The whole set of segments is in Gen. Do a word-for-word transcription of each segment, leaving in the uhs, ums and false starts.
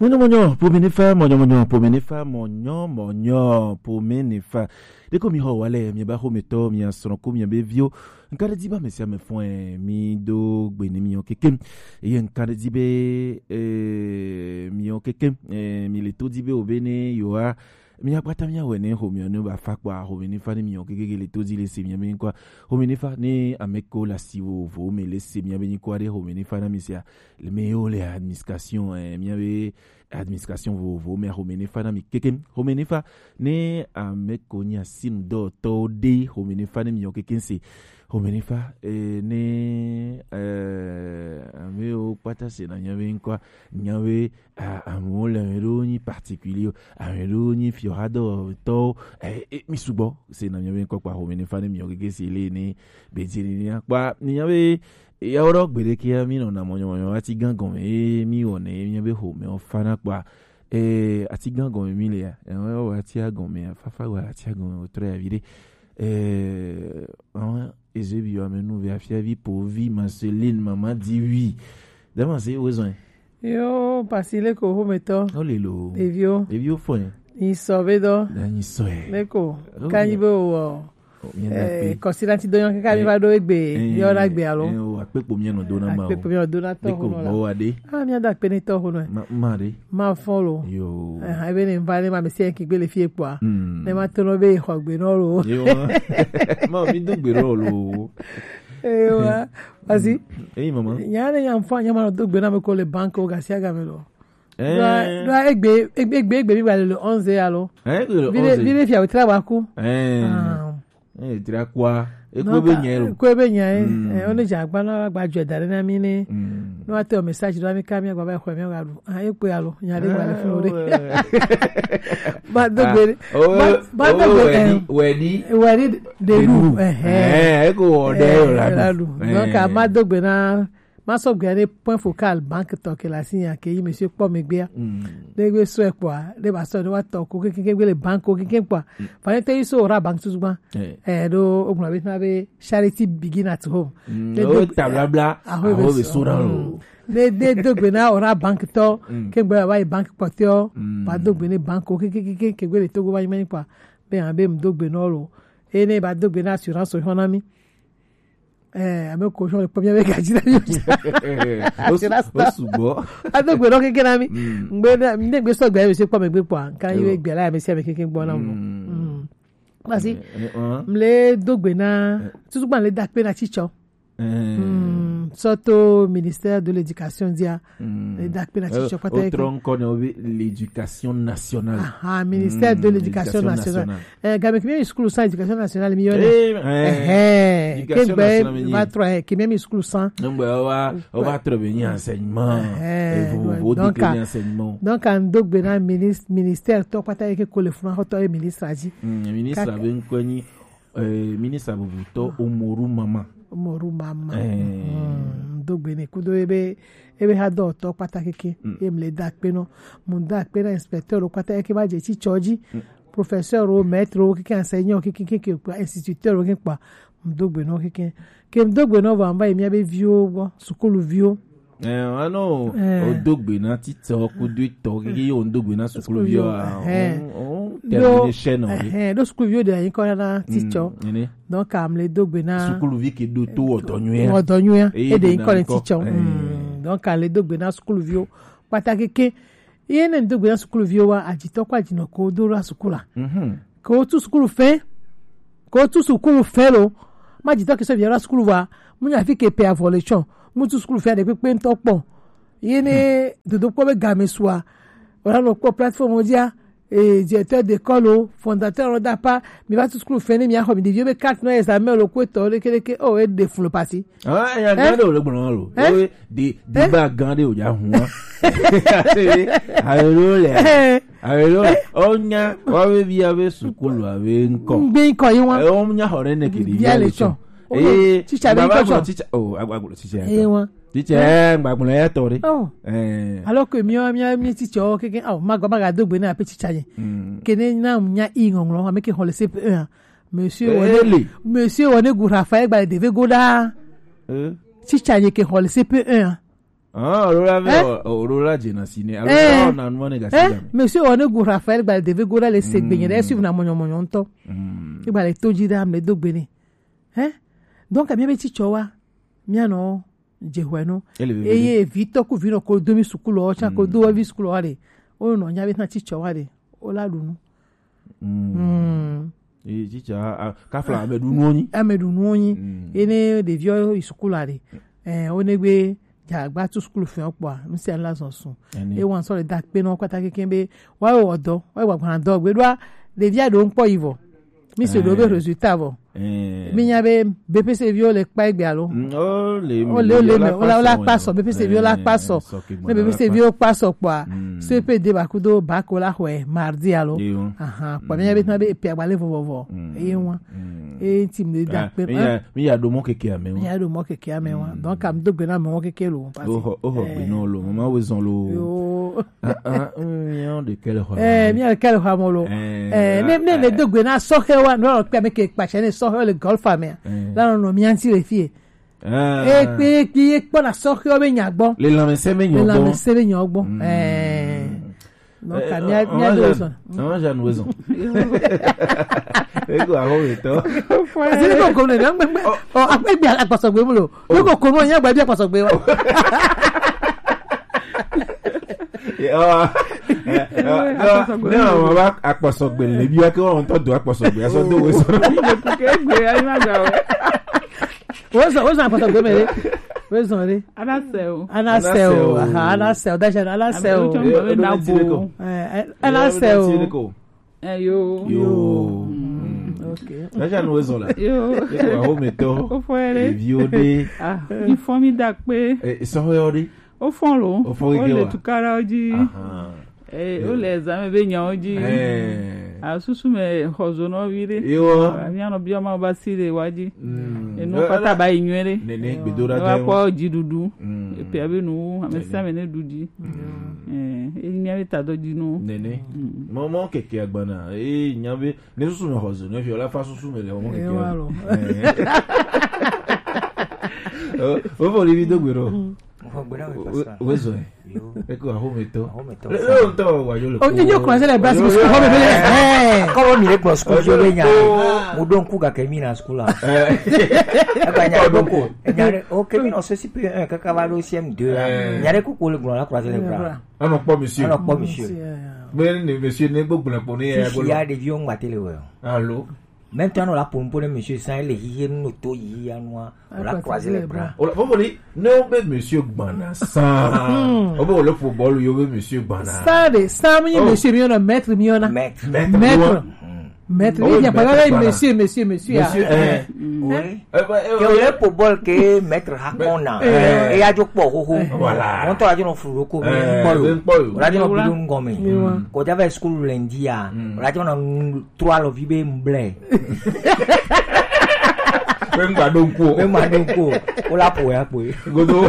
Mɔnyɔ mɔnyɔ pome ne fa, mɔnyɔ mɔnyɔ pome ne fa, mɔnyɔ mɔnyɔ pome ne fa. Ɖeko mi xɔ wa lɛ, mi ba xɔmetɔ, mi asrɔ̃ ko mi be viwo. Nka ɖe di ba mesi ame fɔe mi do gbe ne mi yɔ keke. Eye nka ɖe di be eh, mi yɔ keke, eh, mi le to di be o be ne yoa mi akpata mi awɛ ne xɔme ne ba fa kpɔ xɔme ne fa ne mi yɔ keke le to di le se mi be nkɔ xɔme ne fa ne ame ko la si wo vo me le se mi be nkɔ ɖe xɔme ne fa na mi sia le me yo le administration eh, mi be administration vovovowo mea, xɔme ne fa na mi kekem. Xɔme ne fa ne ame ko nye asinudɔwɔtɔwo ɖe, xɔme ne fa ne mi yɔ kekem se. Xɔme ne fa eh, ne eh, ame wo kpata se na nya be ŋkɔa, nya be ah, amewo le ame ɖewo nyi particulier, ame ɖewo nyi fiɔhadɔwɔtɔwo, eh, eh, mi sugbɔ se na nya be ŋkɔ kpa xɔme ne fa ne mi yɔ kekem se le ne be dzi ne nya kpa ne nya be Eyawo ɖɔ gbeɖe kea mi nɔna mɔnyɔmɔnyɔ ati gã gɔme ye mi wɔnɛ ye mi be xɔme o fana kpa. Eh, ati gã gɔme mi le ya. Eh, wa ati gɔme ya fafa wa ati gɔme o trɛ ya vi ɖe. Eh, awon ezebi wa me nu ve afia vi po vi Marceline mama di wi. Dama se wo zɔn. Yo, pasi le ko xɔmetɔ. O le lo. Ɖeviwo. Ɖeviwo fɔ ye. Nyi sɔ be dɔ. Na nyi sɔ ye. Le ko. Oh, kanyi be o. Kɔsi na ti dɔnyɔ kaka mi va ɖo egbe yɔ na gbe alo akpekpo mi nɔ dona ma o akpekpo mi nɔ dona tɔ ko ho nɔ la gbɔ wa de ah mi ada akpe ne tɔ ho nɔ ma ma de ma fɔ lo yo eh ebe ne va ne ma mi se ki gbe le fie kpɔ ne ma to no be xɔ gbe nɔ lo yo ma mi do gbe nɔ lo ewa parce que eyi mama nya ne nya fɔ nya ma do gbe na me ko le banque o gasi aga me lo do egbe egbe egbe mi ba le le onze alo eh le le onze vide vide fia tra ba ku eh eh tra kwa e ko be nya lo ko be nya eh o ne ja gba na gba jo da na mi ne no ate o message do mi ka mi gba ba ko mi ga du ah e pe alo nya de gba le fun de ba do gbe ba do gbe wedi wedi de lu eh eh e ko o de la du donc a ma do gbe na ma sɔ gbea ɖe point focal banque tɔ ke le asi nya ke yi monsieur kpɔ megbea ɖe gbe sɔe kpɔa ɖe ba sɔ ɖe wa tɔ ko keke gbe le banque ko keke kpɔa fa ne te yi so ora banque tutu gba ɛ ɖo o gblɔ be tuma be charity begin at home ne do ta blabla aho be so na lo ne ne do gbe na ora banque tɔ ke gbe wa yi banque kpɔtɔ ba do gbe ne banque ko keke keke gbe le togo wa yi mɛ kpɔa be hã be mu do gbe na lo eye ne ba do gbe na assurance o hɔn na mi Eh, ame ko sɔ le kpɔ mía be gadzi na mí. Wo sugbɔ. Ado gbe ɖɔ keke na mí. Ŋgbe ne ne gbe sɔ gbe ame si kpɔ megbe kpɔa, nka yi gbe la ame si ame keke gbɔ na mo. Parce que mle do gbe na tutu gba le da kpe na tsitsɔ. Sɔ to ministère de l'éducation dia. Le da kpe na tsitsɔ kpata. O trɔ ŋkɔ ne o be l'éducation nationale. Aha, ministère de l'éducation nationale. Eh, game ke mi sukulu sans éducation nationale mi yone. Eh, eh. Éducation nationale mi. Kegbe va trois eh, ke mi sukulu sans. Donc bah, on va on va très bien enseignement. Eh, vous vous donc enseignement. Donc en dogbe na ministre ministère to pata ke ko le funa hoto e ministre aji. Ministre abe nkoni eh ministre abubutɔ Umaru Mama. Umaru Mama. Eh. Dogbe ne kudo ebe ebe ha do to pata keke. Em le da pe no. Mo da pe na inspecteur lo pata keke ba je ti choji. Professeur o maître o keke enseignant o keke keke kpa instituteur o keke kpa mdo gbe no keke ke mdo gbe no va mba emi abe vio bo sukulu vio eh ano o do gbe na titɔ ku do tɔ keke o do gbe na sukulu vio a o termine chaîne o eh do sukulu vio de yin ko na titɔ donc am le do gbe na sukulu vi ke do to odo nyu ya odo nyu ya e de yin ko le titɔ donc am le do gbe na sukulu vio pata keke Ye ne ŋdo gbe na sukuluviwo wa ajitɔ kɔ ajinɔ ko do la sukula. Ko tu sukulu fɛ. Ko tu sukulu fɛ lo. Ma ajitɔ ke sɔ vi la sukulu wa. Mu nya fi ke pe avɔ le tsɔ. Mu tu sukulu fɛ de kpekpe ŋtɔ kpɔ. Ye ne dodo kpɔ be game sua. Wala no kpɔ plateforme dia. Eh, directeur d'école o, fondateur o dapa, mi va tu sukulu fɛ ne mi axɔ mi ɖeviwo be carte no examen lo ko etɔ leke leke o e de fun lo pasi. Ah, ya gan de o le gbɔn lo. Eh? De de ba gan de o ja hun. Ayo le. Ayo le. O nya wa be bi abe sukulu abe nkɔ. Ngbe nkɔ yi wa. E o nya hore ne ke di ya le cho. Eh, teacher be nkɔ cho. Teacher o agba teacher. Eh wa. Teacher eh ngba gbɔn ya tɔ de. Oh. Eh. Alors que mi mi mi teacher o keke o ma go ma ga do gbe na pe teacher ye. Kene na nya i ngɔnglɔ ame ke hole C P un. Monsieur Wone, Monsieur Wone gu Raphaël gba de ve goda. Teacher ye ke hole C P un. Ah, olola ve, hein? Olola jena sine. Alola na nua ne gasi jame. Monsieur, on est goût Raphaël, bah, devait goût là, les segbe, il est suivre na monyo monyo to. Hmm. Il va les to jida, me do gbene. Hein? Donc, mi be ti chowa. Mi ano, je hwe no. Eye, vito ku vino ko do mi sukulu, cha ko do vi sukulu ale. O no, nya be na ti chowa le. O la dunu. Mm. Ee, tsitsa, a, kafla ame ɖu nuwo nyi. Ame ɖu nuwo nyi. Mm. Ene ɖeviwo yi sukulu aɖe. Eh, wone gbe dza gba tu sukulu fɛn kpɔa, nu sia nu la zɔn sun. Ene. E wan sɔ le da kpe nɔ kpata keke be wa wɔ dɔ, wa gba gba dɔ gbe ɖoa, ɖevia ɖo ŋkpɔ yi vɔ. Mi se ɖo be résultat vɔ. Eh. Mi nya be B P C viwo le kpa egbe alo? Mm, o le, o le, o le me, o la, o la kpa sɔ, B P C viwo la kpa sɔ. Ne B P C viwo kpa sɔ kpɔa, C P D ba kudo bac o la xɔe mardi alo? Ahan, kpɔ mi nya be tana be epe agba le vɔvɔvɔ. Eye wa. E ti mi da pe. Mi ya, mi ya do mɔ keke ame wa. Mi ya do mɔ keke ame wa. Donc, am do gbe na mɔ keke lo. O xɔ, o xɔ gbe na lo, mama we zɔn lo. Yo. Ah, ah, mm, mi ya de kɛlɛ xɔ. Eh, mi ya de kɛlɛ xɔ mo lo. Eh, ne, ne, ne do gbe na sɔhɛ wa, no kpe me ke kpa ne sɔhɛ le golf ame. La no, no, mi anti le fie. Ah. E kpe, kpe, e kpɔ na sɔhɛ be nya gbɔ. Le lanmese be nya gbɔ. Le lanmese be nya gbɔ. Mm. Eh. Donc, eh, mi a, mi a do so. Non, j'ai une raison. Ego aho eto. Parce que ko ko ne, ngbe, ngbe. Oh, akpe gbe akpasogbe mu lo. Ko ko ko no nya gba bi akpasogbe wa. Ye, oh, eh, eh, no, no, wa akpasogbe le bi wa ke wa on to do akpasogbe. Aso do we so. Ke gbe ayi ma ga we. Wo so, wo so akpasogbe mere. Wo so re. Ana se o. Ana se o. Aha, ana se o. Dash ana se o. Eh, ana se o. Eh, yo. Yo. Mm, ok. Dash ana we so la. Yo. Ko aho me to. Ko fere. Eviwo de. Ah, informi da pe. Eh, so yo de. O fɔn lo. O fɔn o le tukara o ji. Aha. Eh, o le examen be nyawo ji. Eh. A susu me xɔzo nɔ vi de. Yo. Ami anɔ biɔ ma ba si de wa ji. Mm. Enu kpata ba yi nyuie de. Nene, gbedo da. Wa kpɔ ji dudu. Mm. Epe abe nu, ame sia ame ne du ji. Mm. Eh, e mi abe ta do ji nu. Nene. Mm. Mɔ, mɔ keke agbana. Eh, nya be, ne susu me xɔzo, ne fi o la fa susu me le mɔ keke. Eh, wa lo. Eh. O, o fo li vi do gbe ro. Xɔ gbe na we pastor. We zo. Yo. Eko aho me to. Aho me to. Le, le, o to wa yo le. O, enyo kura se le basi school ho me bele. Eh. Ko mi le kura school yo le nya. Mo don ku ga ke mi na school la. Eh. E ba nya ko ko. Nya re, o ke mi no so si pe un kaka va do C M deux la. Eh. Nya re ko ko le gro la kura se le bra. Ano kpɔ monsieur. Ano kpɔ monsieur. Monsieur, eh. Mais ne monsieur ne gbogbo na kpɔ ne ya. Si ya de vieux ngba tele we. Allô? Maintenant, on la pour, pour le monsieur sans les hier nous to ya noir. On la croisé les bras. O la, faut dire, non, mais monsieur Gbana sans. O bon, le football, yo, monsieur Gbana. Ça, de, ça, monsieur, monsieur, mi on a maître, mi on a. Maître. Maître. Maître. Oh, il n'y a pas maître, là, voilà. Monsieur, monsieur, monsieur, ah. Monsieur, eh. Oui. Eh, bah, eh, que ouais. Le football que maître Hakona. Eh. Et il y a du port, oh, oh. Voilà. On t'a dit, on fout le coup. Eh, on a dit, on fout le coup. Ko java school lundi a. Mm. O la jɔ na nu trois lo vi be mble. Be ngba do nku o. Be ngba do nku o. O la po ya po. Godo.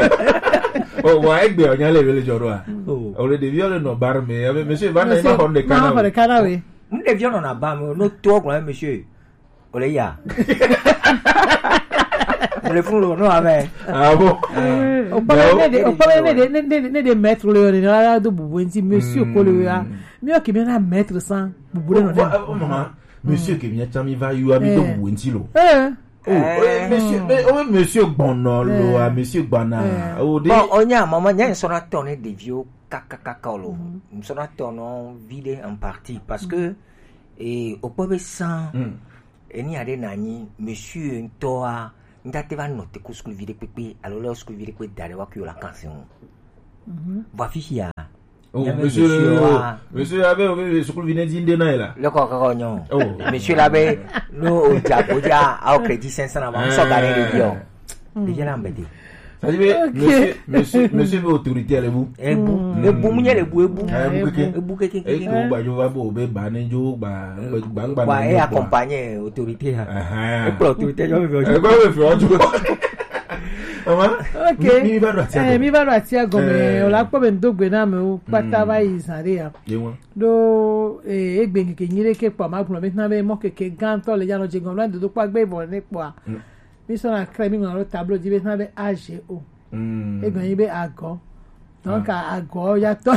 O wa egbe o nya le vele joro a. Oh. O le devi o le no bar me. Ya be monsieur va na ma hon de kana. Ma hon de kana we. M devi o no na ba me. No to gro monsieur. O le ya. O le fun lo no ame. Ah bon? Eh. O pa ne de, o pa ne de, ne de, ne de maître le yo ne la do bubu nti monsieur ko le ya. Mi o ki mi na maître sans bubu le no. Oh, oh, maman, monsieur ke mi tsa mi va yo ami do bubu nti lo. Eh. Oh, eh, monsieur, mais, oh, monsieur Gbana lo, ah, monsieur Gbana. Oh, de. Bon, onya, maman, nya so na tourner des vieux kaka kaka lo. So na tourner vide en partie parce que, eh, au pauvre sang, Eni aɖe na nyi monsieur ŋutɔa, ŋdate va nɔ te ku sukuvi ɖe kpekpe alo le sukuvi ɖe kpe da ɖe wa ku yo la kan se ŋu. Vɔ afi sia. Oh, monsieur, monsieur abe, abe sukuvi ne di nde na la. Le kɔ kɔ nyɔ. Oh. Monsieur la be, no o ja, o ja, a o crédit cinq cents na ma, so ga ne de dio. Déjà là embêté. Ça dit, mais monsieur, monsieur, monsieur veut autorité, elle est vous. Ebu, ebu, mu nye le bu, ebu. Ah, ebu keke. Ebu keke, keke. Et que vous, bah, je vais vous, ben, bah, ne, je, bah, bah, bah, bah, bah, et accompagner autorité, hein. Ah, ah. Et pour autorité, je vais faire. Eh, bah, ouais, faire, tu vois. Maman, ok. Mi, mi va do atia gɔme. Eh, mi va do atia gɔme. Eh. O la kpɔ be ŋdo gbe na amewo kpata va yi zã ɖe ya. Ye wa. Ɖo, eh, egbe ŋkeke nyui ɖe ke kpɔ ma gblɔ be na be mɔ keke gãtɔ le ya nɔ dze gɔme na dodo kpɔ agbe vɔ ne kpɔa. Mi sɔ na krɛ mi ŋlɔ ɖo tablo dzi be na be A G O. Egbe nyi be agɔ. Donc, agɔ ya tɔ.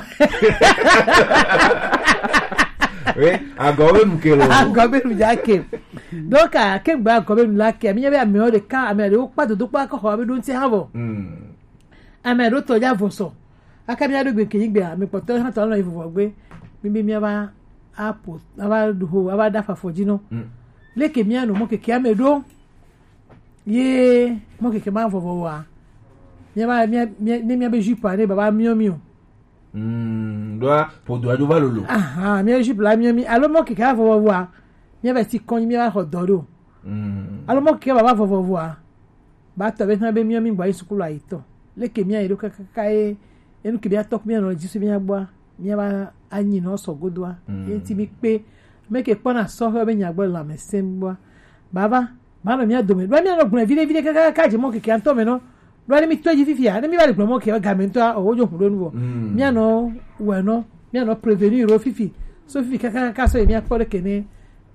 Oui, agɔ be nu ke lo. Agɔ be nu ya ke. Donc, ke gba agɔ be nu la ke, mi nya be ame o de ka, ame de o kpa dodo kpa ko ho be do nti ha bo. Hmm. Ame do to ya voso. Aka mi ado gbe ke gbe, ame kpɔtɔ ha to lo yi vovo gbe. Mi bi mi aba apo, aba du ho, aba da fa fo ji no. Hmm. Leke mi ano mo keke ame do. Ye mɔ keke ma vɔvɔ wa. Mia ba mia mia ne mia be jupe ne baba mio mio. Mm, doa po doa do va lolo. Aha, mia jupe la mio mi. Alo mɔ keke a vɔvɔ wa. Mia ba si kɔn mia ba xɔ dɔ do. Mm. Alo mɔ keke baba vɔvɔ wa. Ba tɔ be na be mio mi gba yi sukulu ayi tɔ. Leke mia yi do kakaka ye. Enu ke mia tɔ mia nɔ jisu mia gba. Mia ba anyi nɔ sɔ godoa. Mm. Ye ti mi kpe. Meke kpɔna sɔhɛ be nya gbɔ lãmesẽ gbɔa. Baba, ba nɔ mia dome. Ɖo mia nɔ gblɔe viɖe viɖe kaka kaka dze mɔ keke ŋutɔ me nɔ. Ɖo ne mi tɔ dzi fifia, ne mi va le gblɔ mɔ keke game ŋutɔa, o wo dzo hu ɖo nu vɔ. Mm. Mia nɔ wɛ nɔ, mia nɔ prévenir wo fifi. So fifi kaka kaka so ye mia kpɔ ɖe ke ne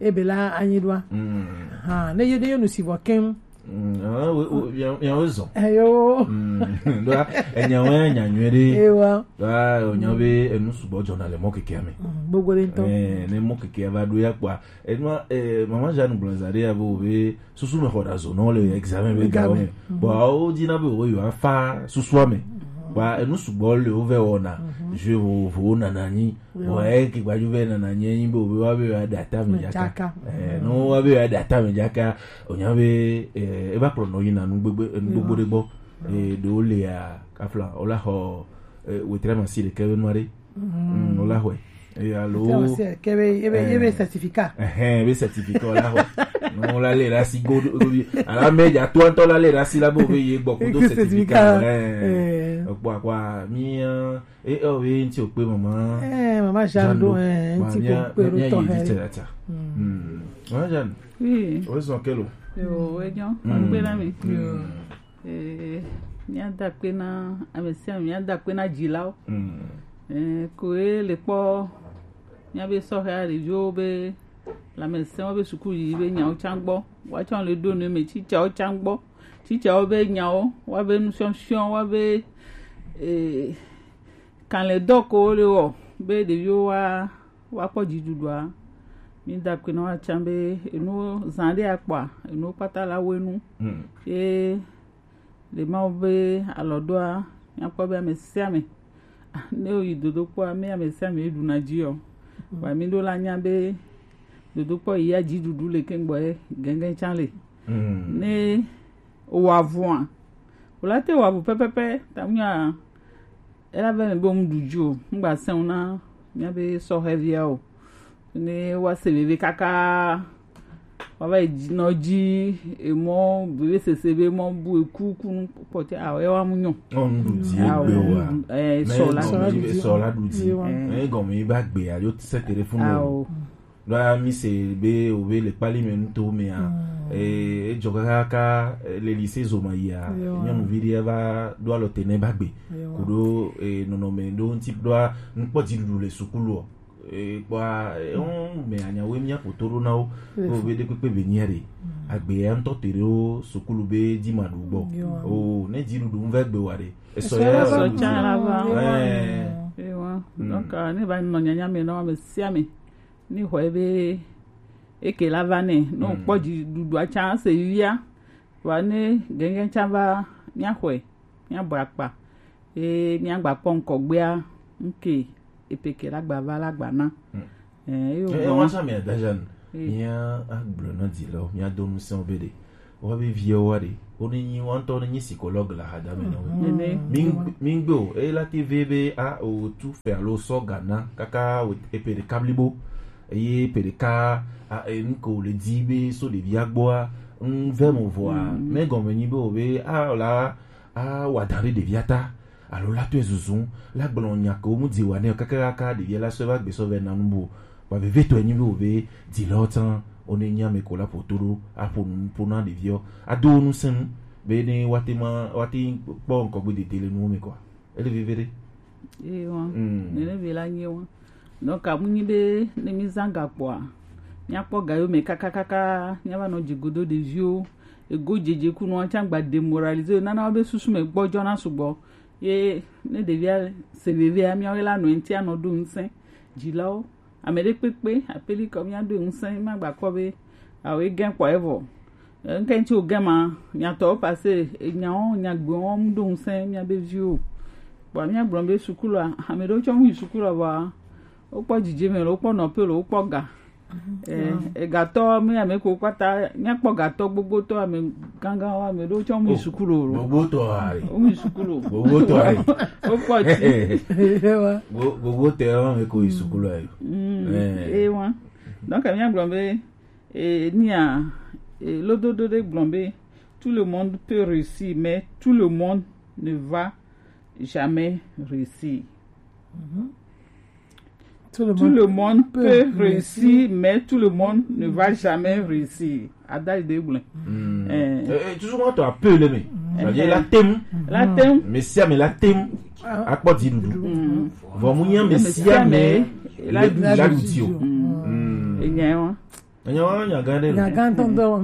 ebe la anyi ɖoa. Mm. Ha, ne ye ne yo nu si vɔ keŋ. Mm, ah, we, we, ya, ya we zɔ. Eyo. Mm, ɖoa, enya we nya nyuie ɖe. Ewa. Ɖoa, o nya be enu sugbɔ dzɔna le mɔ kekea me. Mm, gbogbo ɖe ŋutɔ. Eh, ne mɔ kekea va ɖo ya kpɔa. Enua, eh, mama Jeanne gblɔ za ɖe ya be wo be susu me xɔ ɖa zo nɔ le examen be gawo me. Examen. Mhm. Bon, awo dina be wo yo afa susua me. Mhm. Ba enu sugbɔ le wo vɛ wɔna. Mhm. Je wo vo nana nyi. Yo. Wa e ke gbaju be nana nye nyi be obe wa be wa da ta me jaka. Jaka. Eh, no wa be wa da ta me jaka. O nya be, eh, e ba kplɔ nɔ yi na nu gbegbe, nu gbogbo ɖe gbɔ. Eh, ɖo le ya, kafla, o la xɔ, eh, wetre ma si ɖe ke be nua ɖe. Mm, o la xɔe. Eh, alo. Wetre ma si ɖe ke be, ebe, ebe certificat. Eh, ebe certificat o la xɔ. No la le la si go, go, ala me ja to anto la le la si la bo be ye gbɔ ko do certificat. Certificat. Eh. Eh. Kpɔ, kpɔ, mi, eh, E, o, ye ŋti o kpe mama. Eh, mama Jeanne do, eh, ŋti ko kpe do tɔ he. Mm. Mama Jeanne. Oui. O zɔn kelo. Yo, e nyɔ. Mm. Kpe na mi. Yo. Eh, mia da kpe na, ame sia ame, mia da kpe na dzilawo. Mm. Eh, ko e le kpɔ, mia be sɔhɛ ɖeviwo be lãmesẽwo be suku yiyi be nyawo tsã gbɔ. Woatsɔ le ɖo ne me tsitsawo tsã gbɔ. Tsitsawo be nyawo, woabe nufiɔfiɔ, woabe, eh, kalẽdɔ ko wole wɔ be ɖeviwo wa, woakpɔ dziɖuɖua, mi da akpe na wo atsã be enuwo zã ɖe akpɔa, enuwo kpata la wɔ enu. Mm. Ye le Mawu be alɔ ɖoa, míakpɔ be ame sia ame, ne woyi dodokpɔa, me ame sia ame ɖuna dzi o. Mm. Vɔa mi ɖo la nya be dodokpɔ yi ya dziɖuɖu le keŋ gbɔ ye gɛgɛ tsã le. Mm. Ne wòaʋua, wòla te wòaʋu pɛpɛpɛ, ta ŋua, ela be me be ŋu ɖu dzi o, ŋgba sẽ ŋu na míabe sɔhɛvia o. Ne woase veve kaka, woava yi dzi, nɔ dzi, emɔ, veve sese be mɔ bu eku, ku nu kpɔtɛ, awo, ewa mu nyɔ. Ɔ, ŋu ɖu dzi. Awo, egbe wa. Ŋu ɖu, eh, sɔ la ɖu dzi. Sɔ la ɖu dzi. Ewa. Eh, gɔme yi ba gbe, alo se téléphone. Awo. Ɖoa mi se be o be le kpali me nuto mea, mm, eh, edzɔ kakaka, eh, le lycée zo ma yia, yo, nyɔnuvi ɖe va ɖo alɔ te ne ba gbe. Yo. Koɖo, eh, nɔnɔme ɖo ŋti ɖoa nukpɔ dziɖuɖu le sukulu o. Eh, kpɔa, eh, mm, me anyawo mia ƒoto ɖo na wo. Yo. Ko be ɖekpekpe be nyia ɖe. Mm. Agbe ya ŋutɔ te ɖe wo sukulu be dzi ma ɖu gbɔ. Yo. O, ne dziɖuɖu ŋu va gbe wa ɖe. Esɔ ya sɔ tsã la va. Eh. Yo. Mm. Donc, euh, ne va nɔ nyanya me na ame sia ame. Ni xɔe be eke la va nɛ. Ne wòkpɔ dziɖuɖua tsã se via, vɔa ne gɛgɛ tsã va, míaxɔe, míabɔ akpa, eye míagba kpɔ ŋkɔgbea, ŋke epeke la gba va la gba na. Mm. Eh, eyo. Eh, gbɔ. Wa sa mi adajan, eh, mía agblɔ na dzilawo, mía do ŋusẽ wo be ɖe. Woabe viwo wa ɖe, wo ne nyi, wo ŋutɔ ne nyi psychologue le ahadame na wo. Mhm. Nene. Mi, mi ŋgbe o, eye la te ve be, a, o tu fe alo sɔ ga na kaka o, epe ɖeka blibo, eye epe ɖeka, a, e, nu ke wòle di be so ɖevia gbɔa, ŋu ve mo vɔa, mhm, me gɔme nyi be o be, a, o la, a, wa da ɖe ɖevia ta, alo la tɔe zuzun, la gblɔ nya ke wo mu dzi wa nɛ o, kaka, kaka ɖevia la sɔ va gbe sɔ vɛ na nu bo. Vɔ vevitɔe nyi be wo be dzilawo tsã, wo ne nyi ame ko la ƒo to ɖo, aƒo nu ƒo na ɖeviwo, ado wo ŋusẽ nu be ne woate ma, woate kpɔ ŋkɔgbe dede le nuwo me kɔa, ele veve ɖe. Eye wa, mm, nene be la nyi wa. Donc, amu nyi be ne mi zã gakpoa, míakpɔ ga yo me kakakaka, míava nɔ dzi godo ɖeviwo, ego dzedze kunua tsã gba démoraliser, nana wo be susu me gbɔdzɔna sugbɔ. Ye ne ɖevia se vevea, míawoe la nɔ eŋuti anɔ ɖo ŋusẽ dzilawo. Ame ɖe kpekpe, apeli kɔ míaɖo ŋusẽ, míagba kpɔ be awo egẽ kpɔ evɔ. Ŋke ŋuti wògẽ ma, nyatɔwo pase, enyawo, nyagbewo ŋu ɖo ŋusẽ míabe viwo. Kpɔ míagblɔ be sukulu a, ame ɖewo tsɔ ŋu yi sukulu a vɔa, wokpɔ dzidzeme lo, wokpɔ nɔƒe lo, wokpɔ ga. Eh, egatɔ mi ame ko kpata, míakpɔ gatɔ gbogbotɔ, ame gangan wa, ame ɖewo tsɔ mu yi sukulu lo. Gbogbotɔ ari. Wo mu yi sukulu. Gbogbotɔ ari. Wokpɔ ti. Gbo- Gbogbotɔ ya ame ko yi sukulu ayo. Mm, eh, wa. Donc, míagblɔ be, eh, nia, eh, lododo ɖe gblɔ be, tout le monde peut réussir, mais tout le monde ne va jamais réussir. Tout le monde peut réussir, mais tout le monde ne va jamais réussir. Ada ide gblẽ. Eh, eh, tu souvent to appelé me. Ça veut dire la tem. La tem. Mais si mais la tem. Akpɔ di dudu. Vɔ mu nya me si me la du la du ti o. Enyawo. Enyawo nya gã ɖe. Nya gã tɔn tɔn.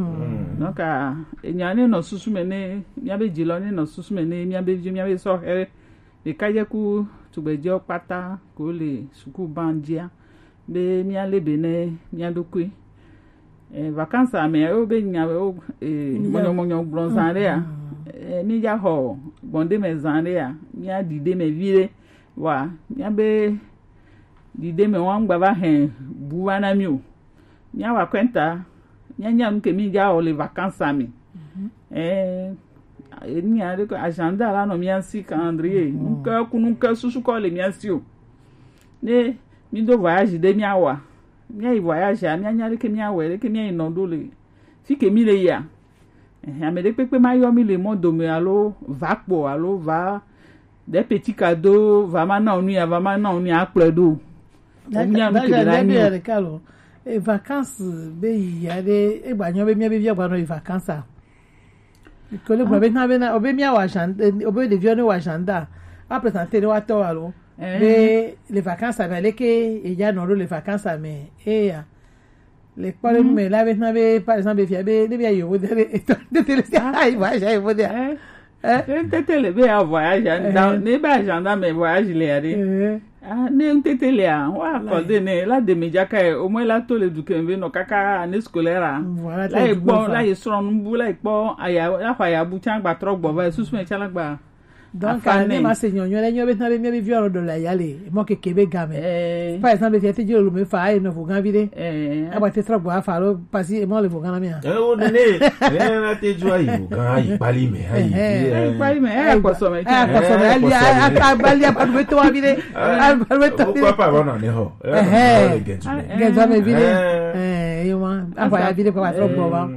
Donc, ah, enya ne nɔ susu me ne, míabe dzilɔ ne nɔ susu me ne, míabe vi, míabe sɔhɛ ɖekadzeku tugbedzɛwo kpata ko le sukuban dzia, be míalé be ne mía ɖokui. Eh, vacances me wo be nya wo, eh, mɔnyɔmɔnyɔ gblɔ zã ɖe ya. Eh, mi dza xɔ gbɔn ɖe me zã ɖe ya, mía ɖi ɖe me vi ɖe. Wa, mía be ɖi ɖe me wa ŋgba va hɛn bu va na mi o. Míawa kɔnta, míanya nu ke mí dza wɔ le vacances me. Eh, enya ɖe ko agenda la nɔ mía si, calendrier. Nuke ku nuke susu kɔ le mía si o. Ne mí do voyage ɖe míawa. Míayi voyage a, míanya ɖe ke míawɔe, ɖe ke míayi nɔ ɖo le fi ke mí le yia. Ehe, ame ɖe kpekpe ma yɔ mí le mɔ dome alo va kpɔ alo va ɖe petit cadeau, va ma na nu ya, va ma na nu ya akplɔe ɖo. Mía nu ke ɖe la nyi. Ɖeka lo. E vacances be yi ya ɖe, e gba nyɔ be mía be via gba nɔ yi vacances a. Ko le gblɔ be na be na, obe mía wa agenda, obe ɖeviwo ne wa agenda. A présenter ne wa tɔ alo. Be le vacances a be leke e ya nɔ ɖo le vacances a me. E ya. Le kpɔ ɖe nu me la be na be, par exemple, fia be ne be yovo de le eto de te le sia ayi va ja yovo de. Eh? Te te le be ya voyage a, ne ba agenda me voyage le ya ɖe. Ah, ne ŋtete lea, wa accordé ne la deme dza kae, au moins la to le du ke be nɔ kaka année scolaire a. Voilà, la yi kpɔ, la yi srɔ̃ nubu, la yi kpɔ aya, la xɔ aya bu tsã gba trɔ gbɔ va susu me tsã la gba. Donc, ne ma se nyɔnyɔ le nyɔ be na be mía be viwo ɖo le aya le mɔ keke be game. Par exemple, fia te dzi lo me fa ayi nɔ vo gan vi ɖe. Agba te trɔ gbɔ afa lo pasi emɔ le vo gan na mía. Eh, o ne ne, ne na te dzo ayi vo gan ayi kpali me ayi. Ayi kpali me, ayi kpɔsɔ me. Ayi kpɔsɔ me, ali ata bali apa do to abi ɖe. Pourquoi pas va na ne ho. Gɛnzɔ me vi ɖe. Eh, yo ma, apa ya vi ɖe pa trɔ gbɔ ba.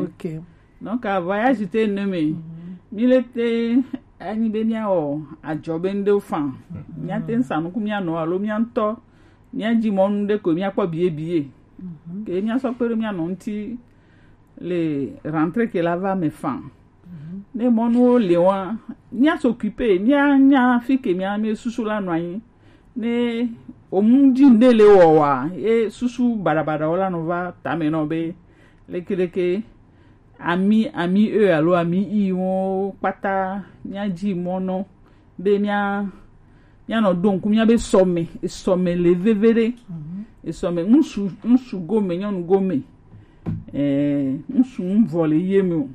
Ok. Donc, a voyage te ne me. Mi le te anyi be mía wɔ adzɔ be ŋɖewo fan. Mía te ŋsa nuku mía nɔ alo mía ŋtɔ. Mía dzi mɔnu ɖe ko mía kpɔ biye biye. Ke mía sɔ kpe ɖe mía nɔ ŋti le rentrée ke la va me fan. Ne mɔnuwo le wa, mía s'occuper, mía nya fi ke mía me susu la nɔ anyi. Ne omu dzi ŋɖe le wɔ wa, ye susu baɖabaɖawo la nɔ va tame nɔ be leke leke ami ami e alo ami i wo kpata mía dzi mɔ nɔ be mía mía nɔ ɖo ŋku mía be sɔme, esɔme le veve ɖe. Esɔme ŋsu ŋsu gome, nyɔnu gome. Eh, ŋsu ŋvɔ le ye me o.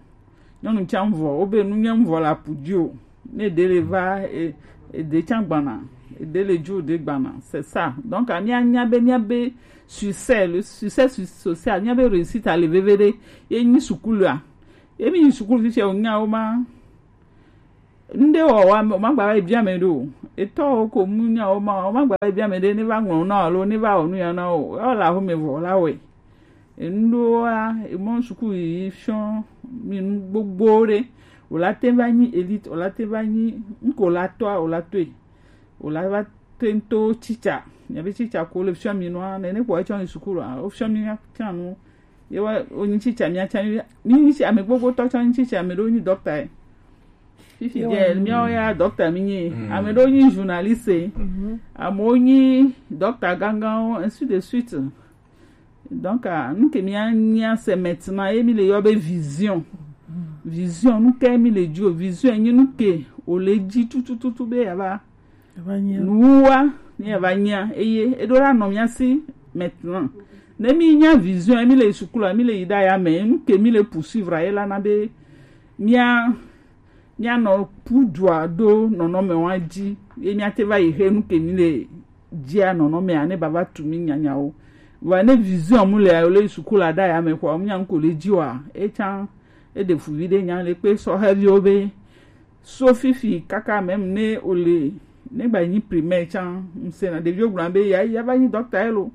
Nyɔnu tsã ŋvɔ, wo be nu nye ŋvɔ le apu dzi o. Ne ɖe le va, e, e ɖe tsã gbana, e ɖe le dzo ɖe gbana, c'est ça. Donc, a mía nya be mía be succès, le succès su- social, mía be réussite a le veve ɖe, ye nyi sukulu a. Ye mi nyi sukulu fi sia o nya wo ma. Ŋɖe wɔ wa, o ma gba va yi bia me ɖo. Etɔ wo ko mu nya wo ma, o ma gba va yi bia me ɖe, ne va ŋlɔ na alo ne va wɔ nu ya na o. Ewɔ la ho me vɔ la wɛ. Enuɖowoa, emɔ suku yiyi fiɔ mi nu gbogbo ɖe. O la te va nyi élite, o la te va nyi, ŋko la tɔa, o la toe. O la va te ŋto tsitsa. Mia be tsitsa ko le fiɔ mi nua, nene kpɔ etsɔ nyi suku la, o fiɔ mi nya tsã nu. Ye wa, o nyi tsitsa mia tsã mi, mi nyi tsi ame gbogbo tɔ tsɔ nyi tsitsa, ame ɖewo nyi dɔkta ye. Fifi dze, miawo ya dɔkta mi nyi. Ame ɖewo nyi journaliste. Amewo nyi dɔkta ganganwo, ainsi de suite. Donc, ah, nu ke mía, mía se maintenant, ye mi le yɔ be vision. Vision, nu ke mi le ji o, vision enyi nu ke o le ji tutututu be ya va nuwa ni ya va nyia, eye e ɖo la nɔ mia si maintenant. Ne mi nya vision, mi le yi sukulu, mi le yi ɖa ya me, nu ke mi le poursuivre ye la na be mia mia nɔ pu dua ɖo nɔnɔme wa ji, ye mia te va yi he nu ke mi le jia nɔnɔme a ne bava tu mi nyanyawo. Vɔa ne vision mu le o le sukulu aɖe ya me kɔa, mu nya nu ko le ji wa, e can e ɖe fu vi ɖe nya le kpe sɔhɛviwo be so fifi kaka même ne o le ne gba nyi primaire can, ŋsena ɖeviwo gblɔ be ya ya va nyi docteur elo,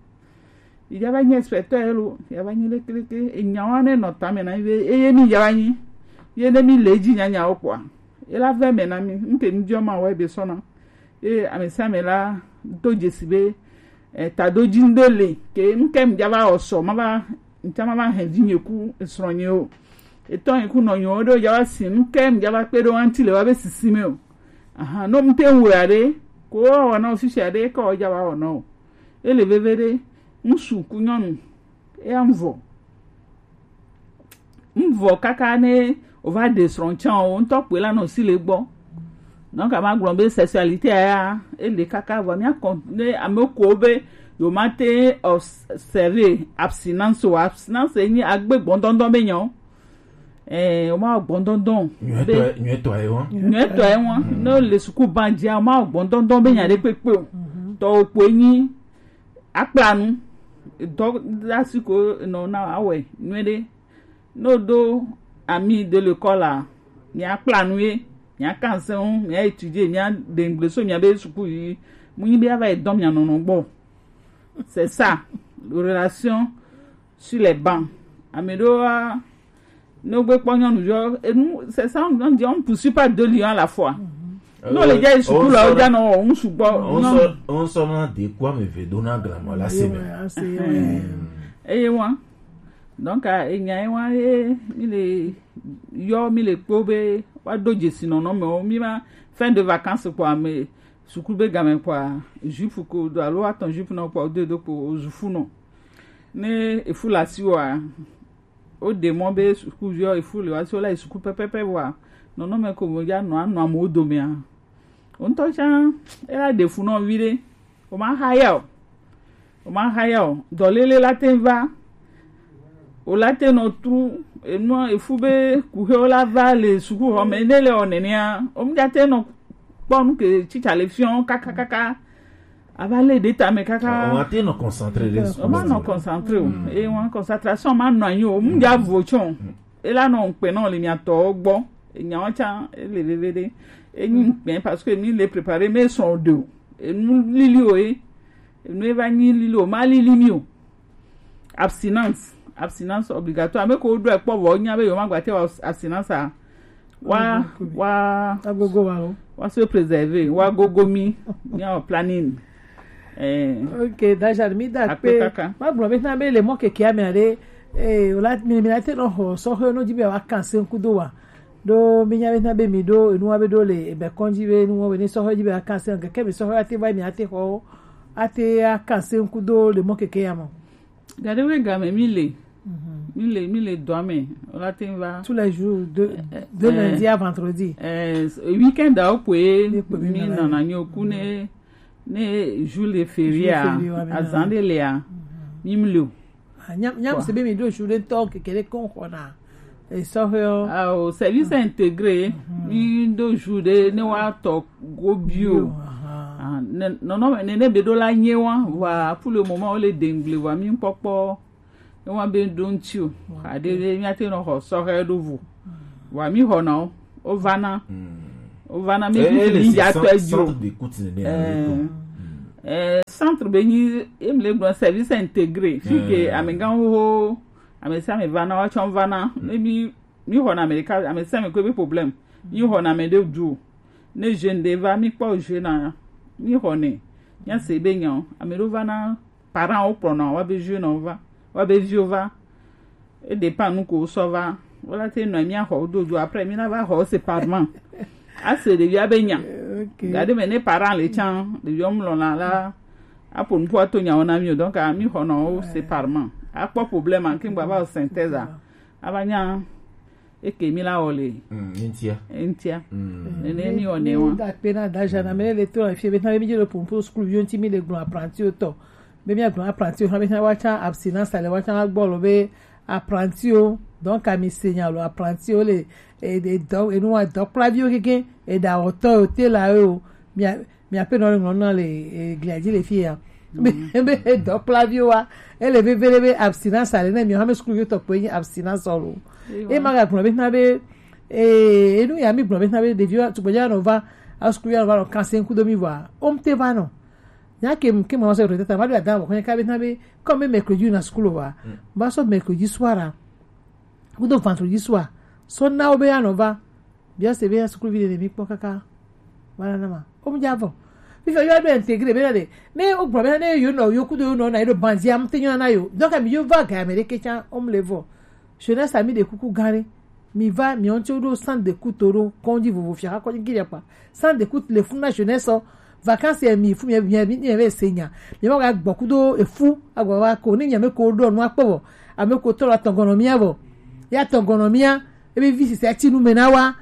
ya va nyi inspecteur elo, ya va nyi lekeleke. Enya wa ne nɔ tame na be eye mi ya va nyi ye ne mi le ji nyanyawo kɔa, e la ve me na mi. Nke mi diɔ ma wɔ be sɔna. Eye ame sia ame la do dzesi be eh, tadoji ŋɖe le ke ŋke ŋdza va wɔ sɔ ma va ŋtsa ma va hɛn vi nye ku esrɔ̃ nye o. Etɔ nye ku nɔ nye o ɖe o dza va si ŋke ŋdza va kpe ɖe o ŋti le wa be sisi me o. Aha, no ŋte ŋwɛ aɖe ko wa wɔ na o fifi aɖe ke o dza va wɔ na o. Ele veve ɖe ŋsu ku nyɔnu eya ŋvɔ ŋvɔ kaka ne o va ɖe srɔ̃ tsã o ŋtɔ kpoe la nɔ si le gbɔ. Donc a ma gblɔ be sexualité ya ele kaka vɔ mia kɔ ne ame ko be yo ma te observer abstinence o, abstinence enyi agbe gbɔndɔndɔn be nyawo. Eh, o ma gbɔndɔndɔn be nyuetɔ ye wa nyuetɔ ye wa ne o le suku ban dzi o ma gbɔndɔndɔn be nya ɖe kpekpe o. Tɔ o kpoe nyi akpla nu dɔ lasi ko nɔ na awɛ nyuie ɖe. Ne woɖo ami de le kɔ la, mia kpla nu ye, mia kanse ŋu, mia étudier, mia dengble so mia be suku yi. Mu nyi be ava yi dɔn mia nɔnɔ gbɔ. C'est ça, relation sur les bancs. Ame ɖewo ne wogbe kpɔ nyɔnuviwo enu c'est ça on dit on ne poursuit pas deux lions à la fois. Ne wole dza yi suku la wodza nɔ wɔ ŋu sugbɔ. On sort on sort na de quoi me ve dona grand la semaine. Eye wa donc enya ye wa ye mi le yɔ mi le kpɔ be wa do dzesi nɔnɔmewo mi ma fin de vacances kpɔ ame suku be game kpɔ jupe ko do alo atɔn jupe nɔ kpɔ do do kpɔ ozufu nɔ ne efu la si wa. Woɖe mɔ be sukuviwo efu le woasi wola yi suku pɛpɛpɛ vɔa nɔnɔme ko mo ya nɔ anɔ amewo domea. Wo ŋutɔ tsã ela ɖe fu nɔ vi ɖe. O ma ha ya o. O ma ha ya o. Dɔlele la te va. O la te nɔ tru enua efu be kuxewo la va le sukuxɔme ne le ɔ nenea. O mu ja te nɔ kpɔ nu ke tsitsa le fiɔ kakakaka. Ava lé ɖe tame kaka. On va te nɔ concentré ɖe. On va nɔ concentré o. Et on concentration ma nɔ anyi o. Mu ja vo tsɔ. Et là non pe non le mia tɔ gbɔ. Enya wa tsa ele veve ɖe. Enyi pe parce que mi le préparé mais son de. Enu lili o e. Enu eva nyi lili o ma lili mi o. Abstinence, abstinence obligatoire. Ame ko ɖo ekpɔ vɔ nya be yewo ma gba te wa abstinence a. Wa wa agogo wa o. Wa se préserver, wa gogo mi, nya o planning. Eh. Ok, Dajal mi da pe. Ma gblɔ be na be le mɔ keke ame aɖe eh o la mi mi na te nɔ xɔ sɔxe no dzi be wa kan se ŋku do wa. Ɖo mi nya be na be mi ɖo enu wa be ɖo le ebe kɔn dzi be nu wa be ni sɔxe dzi be wa kan se keke mi sɔxe ate va mi ate xɔ ate a kan se ŋku do le mɔ keke ya mɔ. Gaɖewoe game mi le mi le mi le dɔa me o la te va. Tous les jours de de lundi à vendredi. Eh, weekend awo koe mi nana nyo ku ne ne jour de férié a azan de le a mi mi le o. Nyam nyam se be mi do jour de tɔ keke de kon kona. Esɔhɛ o. Awo service intégré mi do jour de ne wa tɔ go bio. Nɔnɔ ne ne be do la nye wa wa pour le moment o le dengle wa mi kpɔkpɔ. Ewa be ɖo ŋuti o. Aɖe ɖe míate nɔ xɔ sɔhɛ ɖo vo. Wa mi xɔ na o. O va na. O va na mi ɖuɖu mi ya tɔ edzo. Centre be nyi em le gblɔ service intégré fi ke amegãwo ame sia ame va na wa tsɔ va na ne mi mi xɔ na ame ɖeka ame sia ame ko be problème mi xɔ na ame ɖe du o ne jeune ɖe va mi kpɔ jeune na mi xɔ ne mi ase be nya o ame ɖewo va na parents wo kplɔna wa be viwo nɔ va wa be viwo va e dépend nu ko wo sɔ va wo la te nɔ mi axɔ wo do dzo après mi na va xɔ wo séparément ase ɖevia be nya gaɖe me ne parent le tsan ɖevia wo mlɔ na la aƒo nuƒo ato nyawo na mi o donc mi xɔ nɔ wo séparément akpɔ problème anke gba va o synthèse a ava nya Eke mi la wɔ le. Mm, ntia. Ntia. Mm. Nene mi wɔ ne wa. Da pe na da jana me le to la fie be na be mi je le pumpu school yo nti mi le gbɔn apprenti o tɔ. Be mi agbɔn apprenti o ha be na wa cha abstinence ale wa cha gbɔ lo be apprenti o. Donc ami senya lo apprenti o le e de do e nu wa do kplavi o keke e da o tɔ o te la o. Mi a mi aƒenɔ le ŋlɔ na le eglia dzi le fi ya. Be be edɔ kplaviwo wa ele vevele be abstinence ale ne mi hame sukulu yotɔ kpe nyi abstinence ɔlo. E ma ga gblɔ be na be ee enu ya mi gblɔ be na be ɖeviwo tugbedze anɔ va asukulu ya nɔ va nɔ kanse ŋku do mi vɔa omte va nɔ. Nya ke ke mɔ se rete ta ma do ada wɔ kɔnye ka be na be comme mercredi na sukulu wa. Ba so mercredi soir. Kudo vendredi soir. So na wo be anɔ va. Bia se be ya sukulu vi de mi kpɔ kaka. Wala na ma. O mu ja vɔ. Fifi yo be intégrer be na de. Ne o gbɔ be na ne yo no yo kudo yo no na yo banzi am te yo na yo. Donc mi yo va ga me de ke cha o mu le vɔ. Jeunesse ami de kuku gare. Mi va mi on ti o do centre d'écoute o do kondi vovo fia kondi gire pa. Centre d'écoute le funa jeunesse o. Vacances ye mi fu mi mi mi mi be senya. Mi ma ga gbɔ kudo efu agba wa ko ni nya me ko do no akpɔ vɔ. Ame ko to la tɔngɔnɔ mia vɔ. Ya tɔngɔnɔ mia. Ebi vi sisi ati nu me na wa.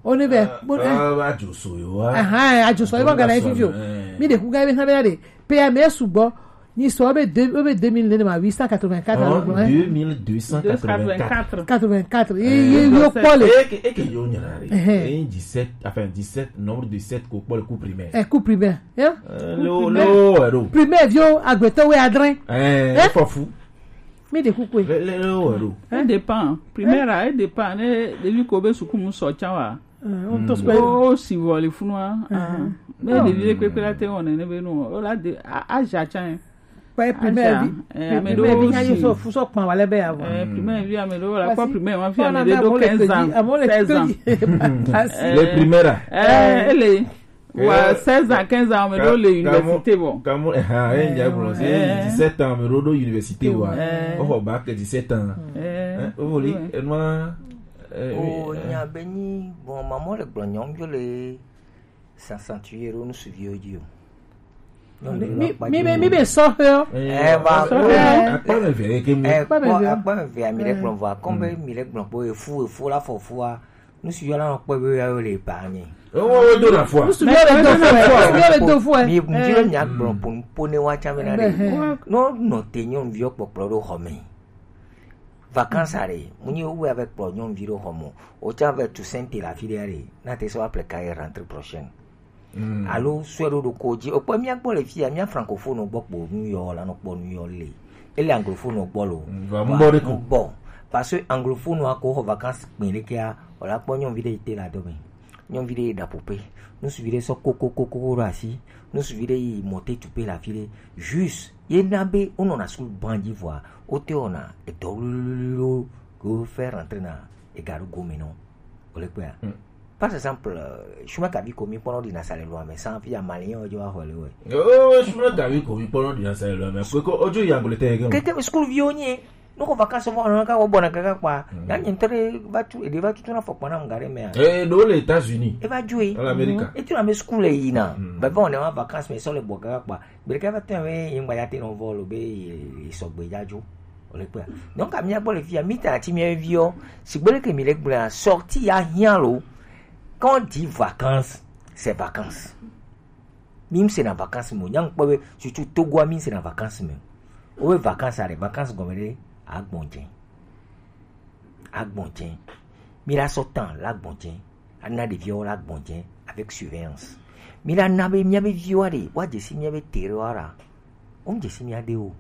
O ne be. Bon, eh. Ah, ajoso yo wa. Aha, ajoso yo ga na fifio. Mi de ku ga be na be na de. Pe ya me sugbɔ. Ni so be deux be deux mille ne ma huit cent quatre-vingt-quatre. Alors, deux mille deux cent quatre-vingt-quatre. Quatre-vingt-quatre. Ye yo pole. Et que yo nyara. Eh, dix-sept, enfin dix-sept, nombre de sept ko pole cours primaire. Eh, cours primaire. Hein? Lo lo ero. Primaire vio agbeto we adrin. Eh, fo fu. Mi de kukwe. Le le lo ero. E dépend. Primaire a e dépend ne ɖevi ko be suku mu sɔ tsa wa. O to sɔ. O si vɔ le funua. Ne ɖevi le kpekpe la te wɔne ne be nu o la de a ja tsa. Kpɛ primaire vi. Ame ɖewo si so fu sɔ kpan wa le be ya vɔ. Primaire vi ame ɖewo la kpɔ primaire ma fi ame ɖe do quinze ans, seize ans. Le primaire. Eh, ele. Wa seize ans, quinze ans, ame ɖewo le université vɔ. Kamu, eh, eh, ya gblɔ, eh, dix-sept ans, ame ɖewo ɖo université vɔ. Eh. O xɔ bac dix-sept ans. Eh. Eh, o voli, enua, eh, o nya be nyi, bon, maman le gblɔ nyɔnu le s'accentuer ɖo nu suviwo dzi o. Mi, mi be, mi be sɔhɛ o. Eh, va, sɔhɛ. Akpa me ve ke mu. Eh, akpa me ve. Akpa me ve, mi le gblɔ vɔ, comme mi le gblɔ po, efu, efu la fɔ fua. Nusu yɔ la nɔ kpɔ be ya le ba nyi. Wo do na fua. Nusu yɔ le do fua. Nusu yɔ le do fua. Mi mu ti be mi agblɔ po po ne wa tsa me na de. No no te nyɔnuvi kpɔkplɔ ɖo xɔ me. Vacances are, mu nyi wo avec kplɔ nyɔnuvi ɖo xɔ me. O tsa avec Toussaint te la fi de are. Na te so apple ka rentrée prochaine. Alo sɔe ɖo ɖoko dzi. Okpɔ mía gbɔ le fia, mía francophone gbɔ kpo nu yɔ la nɔ kpɔ nu yɔ le. Ele anglophone gbɔ lo. Bon, parce que anglophone wa ko xɔ vacances kpɛ le kia, o la kpɔ nyɔnuvi ɖe yi te la do me. Nyɔnuvi ɖe yi da pope. Nusuvi ɖe sɔ koko koko ɖo asi. Nusuvi ɖe yi mote tupe la fi ɖe. Juste, ye na be o nɔ na school ban dzi vɔa, o te o na edɔ lolo ke o fait rentrer na ega ɖo gome nɔ. O le kpea. Par exemple, chemin kavi ko mi kpɔnɔ ɖi na sa le loa me san fi ya malien o jo wa xɔ le we. Oh, chemin kavi ko mi kpɔnɔ ɖi na sa le loa me. Ko ko o jo ya ngole te ke. Keke school vi o nyi. No ko vacances fo na ka wo bona kaka kpa. Ya nyi tere va tu e de va tu na fo kpana ngare me. Eh, do les États-Unis. E va jouer. En Amérique. E tu na me school e yi na. Ba va on est en vacances mais so le bo kaka kpa. Bereka va tɛn we yin gba ya te no vɔ lo be ye sɔgbe ya jo. O le kpea. Donc ami agbɔ le fia mi ta ti mi vi o. Sigbe le ke mi le gblɔ sortie ya hiã lo. Quand on dit vacances, c'est vacances. Mi se na vacances mo. Nyang kpɔ be surtout Togo mi se na vacances mo. O we vacances are vacances gɔme de agbɔnjɛ. Agbɔnjɛ. Mi la sɔ tan la gbɔnjɛ. Ana ɖeviwo la gbɔnjɛ avec surveillance. Mi la na be mia be viwo ɖe wa dze si mia be tere wa ra. O dze si mia de o.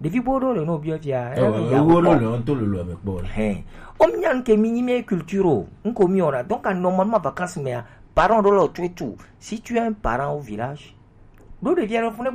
Ɖevi bo ɖo le no biɔ fia. Ewo ɖo le on to le lo me kpɔ. Hein. O mia nke mi nyi mi culture o. Nko mi ora. Donc à normalement vacances mea parents ɖo le tu tu. Si tu es un parent au village, ɖo ɖevi aɖe funa